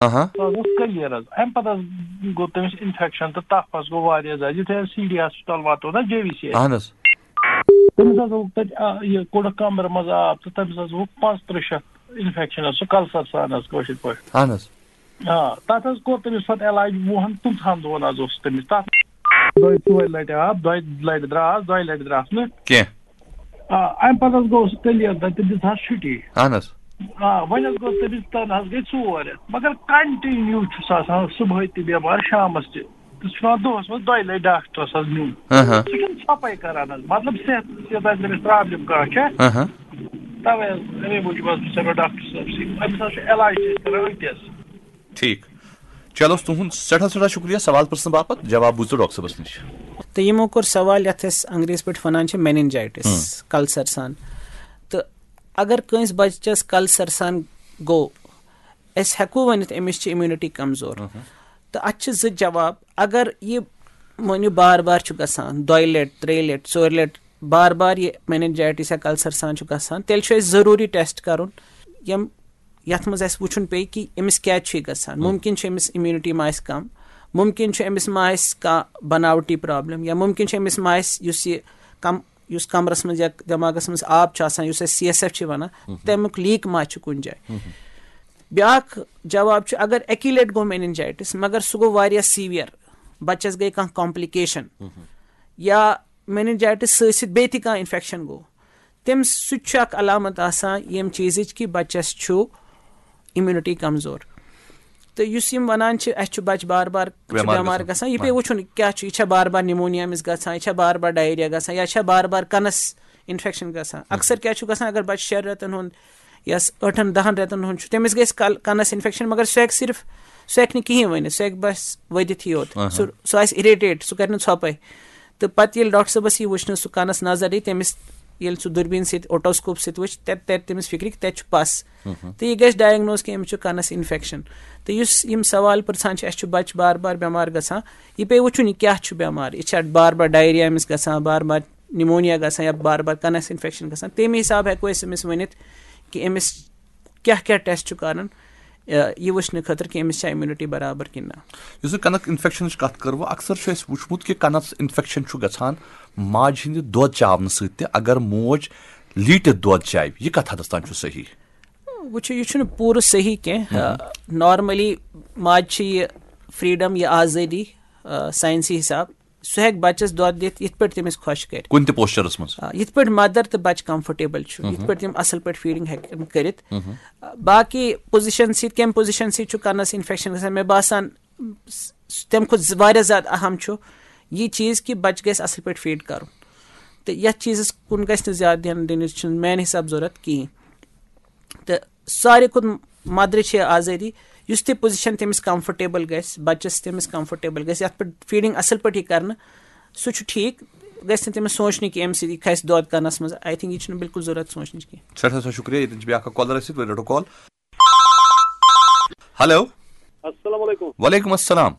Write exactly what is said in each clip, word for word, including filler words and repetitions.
آہا۔ سُہ حظ اوس کٔلیٖر حظ۔ اَمہِ پَتہٕ حظ گوٚو تٔمِس اِنفیکشَن تہٕ تَپھ حظ گوٚو واریاہ زیادٕ۔ یُتھُے حظ سی ڈی ہاسپِٹَل واتو نا، جے وی سی۔ اہن حظ۔ تٔمِس حظ اوس تَتہِ، آ، یہِ کوٚڑُکھ کَمرٕ منٛز آب تہٕ تٔمِس حظ گوٚو پانٛژترٕٛہ شَتھ اِنفیکشَن حظ، سُہ کَلسَر سان حظ، کٲشِر پٲٹھۍ۔ اہن حظ۔ آ، تَتھ حظ کوٚر تٔمِس پَتہٕ علاج وُہَن پٕنٛژٕہَن دۄہَن حظ اوس تٔمِس۔ تَتھ دۄیہِ ژورِ لَٹہِ آب، دۄیہِ لَٹہِ درٛاس، دۄیہِ لَٹہِ درٛاس نہٕ۔ کینٛہہ۔ آ، اَمہِ پَتہٕ حظ گوٚو سُہ کٔلیٖر تَتہِ تہٕ دِژ حظ چھُٹی۔ اہن حظ۔ آ، وۄنۍ حظ گوٚو تٔمِس تَنہٕ حظ گٔے ژور رٮ۪تھ، مگر کَنٹِنیوٗ چھُ سُہ آسان صُبحٲے تہِ بٮ۪مار، شامَس تہِ۔ تہٕ سُہ چھُ پٮ۪وان دۄہَس منٛز دۄیہِ لَٹہِ ڈاکٹرَس حظ نیُن۔ اہا۔ سُہ چھُنہٕ ژھۄپَے کَران حظ، مطلب صحت، صحت آسہِ تٔمِس پرٛابلِم کانٛہہ چھےٚ، اہا۔ تَوَے حظ، اَمے موٗجوٗب حظ چھُس بہٕ ڈاکٹر صٲبسٕے، أمِس حظ چھُ علاج تہِ أسۍ کَران أتھۍ حظ۔ ٹھیٖک۔ چلو، تُہُنٛد سٮ۪ٹھاہ سٮ۪ٹھاہ شُکریہ سوال پرٛژھنہٕ باپتھ، جواب بوٗزِو ڈاکٹر صٲبَس نِش۔ تہٕ یِمو کوٚر سوال یَتھ أسۍ انگریزی پٲٹھۍ وَنان چھِ میننجائٹس، کلسر سان۔ تہٕ اگر کٲنٛسہِ بَچَس کلسر سان گوٚو، أسۍ ہٮ۪کو ؤنِتھ أمِس چھِ امیونٹی کمزور۔ تہٕ اَتھ چھِ زٕ جواب۔ اگر یہِ مٲنِو بار بار چھُ گژھان، دۄیہِ لَٹہِ، ترٛیٚیہِ لَٹہِ، ژورِ لَٹہِ بار بار یہِ میننجائٹس یا کلسر سان چھُ گژھان، تیٚلہِ چھُ اَسہِ ضروٗری ٹیسٹ کَرُن، یِم یَتھ منٛز اَسہِ وٕچھُن پیٚیہِ کہِ أمِس کیٛازِ چھُ یہِ گژھان۔ مُمکِن چھُ أمِس امیونٹی ما آسہِ کم، مُمکِن چھُ أمِس ما آسہِ کانٛہہ بناوٹی پرابلم، یا مُمکِن چھُ أمِس ما آسہِ یُس یہِ کم یُس کمرس منٛز یا دٮ۪ماغس منٛز آب چھُ آسان، یُس أسۍ سی ایس ایف چھِ وَنان، تَمیُک لیٖک ما چھُ کُنہِ جایہِ۔ بیٛاکھ جواب چھُ، اگر اَکی لَٹہِ گوٚو میننجائٹس، مگر سُہ گوٚو واریاہ سیویئر، بَچَس گٔے کانٛہہ کمپلیکیشن، یا میننجائٹس سۭتۍ سۭتۍ بیٚیہِ تہِ کانٛہہ انفیکشن گوٚو، تٔمِس سُہ تہِ چھُ اکھ علامت آسان ییٚمہِ چیٖزٕچ کہِ بَچَس چھُ امیونٹی کمزور۔ تہٕ یُس یِم وَنان چھِ، اَسہِ چھُ بَچہٕ بار بار چھُ بٮ۪مار بٮ۪مار گژھان۔ گژھان، یہِ پیٚیہِ وٕچھُن کیٛاہ چھُ، یہِ چھا بار بار نمونیا أمِس گژھان، یہِ چھا بار بار ڈائریا گژھان، یا چھا بار بار کَنَس انفیکشن گژھان۔ اکثر کیٛاہ چھُ گژھان، اگر بَچہٕ شٮ۪ن رٮ۪تَن ہُنٛد یا س-، ٲٹھَن دَہَن رٮ۪تَن ہُنٛد چھُ، تٔمِس گژھِ کَل-، کَنَس انفیکشن، مگر سُہ ہیٚکہِ صرف، سُہ ہیٚکہِ نہٕ کِہیٖنۍ ؤنِتھ، سُہ ہیٚکہِ بَس ؤدِتھ یوت۔ سُہ سُہ آسہِ اِریٹیٹ، سُہ کَرِ نہٕ ژھۄپَے۔ تہٕ پَتہٕ ییٚلہِ ڈاکٹر صٲبَس یی وٕچھنہٕ، سُہ کَنَس نظر دی، تٔمِس ییٚلہِ سُہ دوٗربیٖن سۭتۍ، اوٹوسکوپ سۭتۍ وٕچھِ، تَتہِ تَرِ تٔمِس فِکرِ کہِ تَتہِ چھُ پَس۔ تہٕ یہِ گژھِ ڈائگنوز کہِ أمِس چھُ کَنَس انفیکشن۔ تہٕ یُس یِم سوال پرٛژھان چھِ، اَسہِ چھُ بَچہٕ بار بار بٮ۪مار گژھان، یہِ پیٚیہِ وٕچھُن یہِ کیٛاہ چھُ بٮ۪مار، یہِ چھا بار بار ڈائریا أمِس گژھان، بار بار نمونیا گژھان یا بار بار کَنَس انفیکشن گژھان، تَمہِ حساب ہٮ۪کو أسۍ أمِس ؤنِتھ کہِ أمِس کیٛاہ کیٛاہ ٹیسٹ چھُ کَرُن، یہِ وٕچھنہٕ خٲطرٕ کہِ أمِس چھا امیونٹی برابر کِنہٕ نہ۔ یُس زَن کَنَک اِنفیکشنٕچ کَتھ کٔروٕ، اکثر چھُ اَسہِ وٕچھمُت کہِ کَنَس اِنفیکشن چھُ گژھان ماجہِ ہِنٛدِ دۄد چاونہٕ سۭتۍ تہِ۔ اگر موج لیٖٹِتھ دۄد چاوِ، یہِ کَتھ حدس تام چھُ صحیح؟ وٕچھِو، یہِ چھُنہٕ پوٗرٕ صحیح کینٛہہ۔ نارملی ماجہِ چھِ یہِ فریڈم، یہِ آزٲدی، آ، ساینسی حساب، سُہ ہیٚکہِ بَچَس دۄد دِتھ یِتھ پٲٹھۍ تٔمِس خۄش کَرِ۔ کُنہِ تہِ پوسچرس منٛز۔ آ، یِتھ پٲٹھۍ مدر تہٕ بَچہٕ کمفرٹیبل چھُ، یِتھ پٲٹھۍ تِم اَصٕل پٲٹھۍ فیٖڈِنٛگ ہیٚکن کٔرِتھ۔ آ، باقٕے پوزیشن سۭتۍ، کَمہِ پوزیشن سۭتۍ چھُ کَنَس اِنفیکشن گژھان، مےٚ باسان، س-، س-، تَمہِ کھۄتہٕ ز-، واریاہ زیادٕ اہم چھُ یہِ چیٖز کہِ بَچہٕ گژھِ اَصٕل پٲٹھۍ فیٖڈ کَرُن۔ تہٕ یَتھ چیٖزَس کُن گژھِ نہٕ زیادٕ دھیان دِنٕچ چھِنہٕ میٛانہِ حساب ضوٚرَتھ کِہیٖنۍ۔ تہٕ ساروی کھۄتہٕ مدرِ چھِ آزٲدی، یُس تہِ پوزیشن تٔمِس کمفرٹیبل گژھِ، بَچَس تٔمِس کمفرٹیبل گژھِ، یَتھ پٮ۪ٹھ فیٖڈِنٛگ اَصٕل پٲٹھۍ یی کَرنہٕ، سُہ چھُ ٹھیٖک۔ گژھِ نہٕ تٔمِس سونٛچنہِ کہِ اَمہِ سۭتۍ یہِ کھسہِ دۄد کَنَس منٛز، آئی تھنک یہِ چھُنہٕ بالکل ضوٚرَتھ سونٛچنٕچ کینٛہہ۔ سٮ۪ٹھاہ سٮ۪ٹھاہ شُکریہ۔ ییٚتٮ۪ن چھِ بیٛاکھ اَکھ کالر اَسہِ سۭتۍ، ؤلِو رَٹو کال۔ ہیلو۔ السلام علیکم۔ وعلیکم السلام۔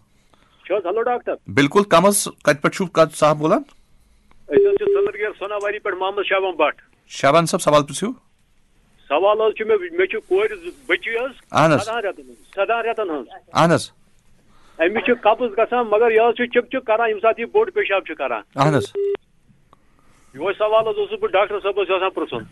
چھُ حظ ہیلو ڈاکٹر؟ بِلکُل، کَم حظ، کَتہِ پٮ۪ٹھ چھُو، کَتھ صاحب بولان؟ أسۍ حظ چھِ ژٔنٛدٕرگیر سوناواری پٮ۪ٹھ محمد شابان بٹ۔ شابان صٲب، سوال پرٛژھِو۔ سوال حظ چھُ مےٚ، مےٚ چھِ کورِ زٕ بٔچی حظ، اہن حظ۔ سدہن رٮ۪تن ہٕنٛز، سدہن رٮ۪تن ہٕنٛز۔ اہن حظ۔ أمِس چھِ قبض گژھان، مگر یہِ حظ چھِ چِک چِک کران، ییٚمہِ ساتہٕ یہِ بوٚڑ پیشاب چھِ کران۔ اہن حظ۔ یِہوٚے سوال حظ اوسُس بہٕ ڈاکٹر صٲبس یژھان پرٛژھُن۔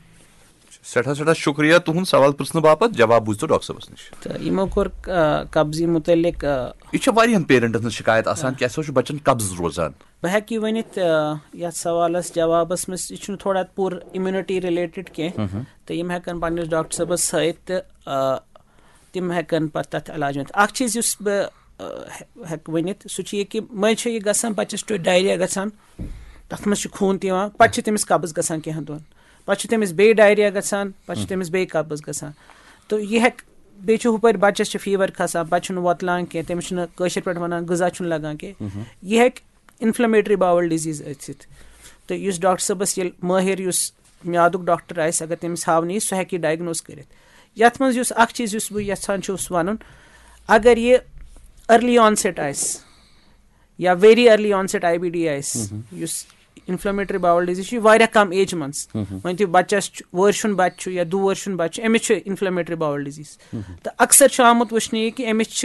سٮ۪ٹھاہ سٮ۪ٹھاہ شُکریہ تُہُنٛد سوال پرٛژھنہٕ باپتھ، جواب بوٗزتو ڈاکٹر صٲبَس نِش۔ تہٕ یِمو کوٚر، آ، قبضی مُتعلِق، آ، یہِ چھِ واریاہَن پیرنٹَن ہٕنٛز شِکایت آسان کہِ اَسہِ حظ چھُ بَچَن قبض روزان۔ بہٕ ہٮ۪کہٕ یہِ ؤنِتھ، آ، یَتھ سوالَس جوابَس منٛز، یہِ چھُنہٕ تھوڑا پوٗرٕ اِمیوٗنِٹی رِلیٹِڈ کینٛہہ، تہٕ یِم ہٮ۪کَن پنٛنِس ڈاکٹر صٲبَس ہٲوِتھ تہٕ، آ، تِم ہٮ۪کَن پَتہٕ تَتھ علاج ؤنِتھ۔ اَکھ چیٖز یُس بہٕ، آ، ہٮ۪-، ہٮ۪کہٕ ؤنِتھ، سُہ چھُ یہِ کہِ مٔنٛزۍ چھُ یہِ گژھان، بَچَس چھُ ڈایریا گژھان، تَتھ منٛز چھُ خوٗن تہِ یِوان، پَتہٕ چھُ تٔمِس قبض گژھان کینٛہَن دۄہَن، پَتہٕ چھُ تٔمِس بیٚیہِ ڈایریا گژھان، پَتہٕ چھُ تٔمِس بیٚیہِ قبض گژھان۔ تہٕ یہِ ہٮ۪کہِ، بیٚیہِ چھُ ہُپٲرۍ بَچَس چھُ فیٖوَر کھسان، بَچہٕ چھُنہٕ وۄتلان کینٛہہ، تٔمِس چھُنہٕ کٲشِر پٲٹھۍ وَنان غذا چھُنہٕ لَگان کینٛہہ۔ یہِ ہٮ۪کہِ اِنفلیمیٹری باوَل ڈِزیٖز ٲسِتھ۔ تہٕ یُس ڈاکٹر صٲبَس ییٚلہِ مٲہِر یُس میادُک ڈاکٹر آسہِ، اگر تٔمِس ہاونہٕ یی، سُہ ہٮ۪کہِ یہِ ڈایگنوز کٔرِتھ۔ یَتھ منٛز یُس اَکھ چیٖز یُس بہٕ یَژھان چھُس وَنُن، اگر یہِ أرلی آنسیٹ آسہِ یا ویری أرلی آنسیٹ آئی بی ڈی آسہِ، یُس انفلیمیٹری باول ڈیزیز چھِ واریاہ کم ایجہِ منٛز۔ وۄنۍ تہِ بچس چھُ، وٲرۍ سُنٛد بچہِ چھُ یا دُ وٲرۍ سُنٛد بچہِ چھُ، أمِس چھُ انفلیمیٹری باول ڈیزیز۔ تہٕ اکثر چھُ آمُت وٕچھنہٕ یہِ کہِ أمِس چھِ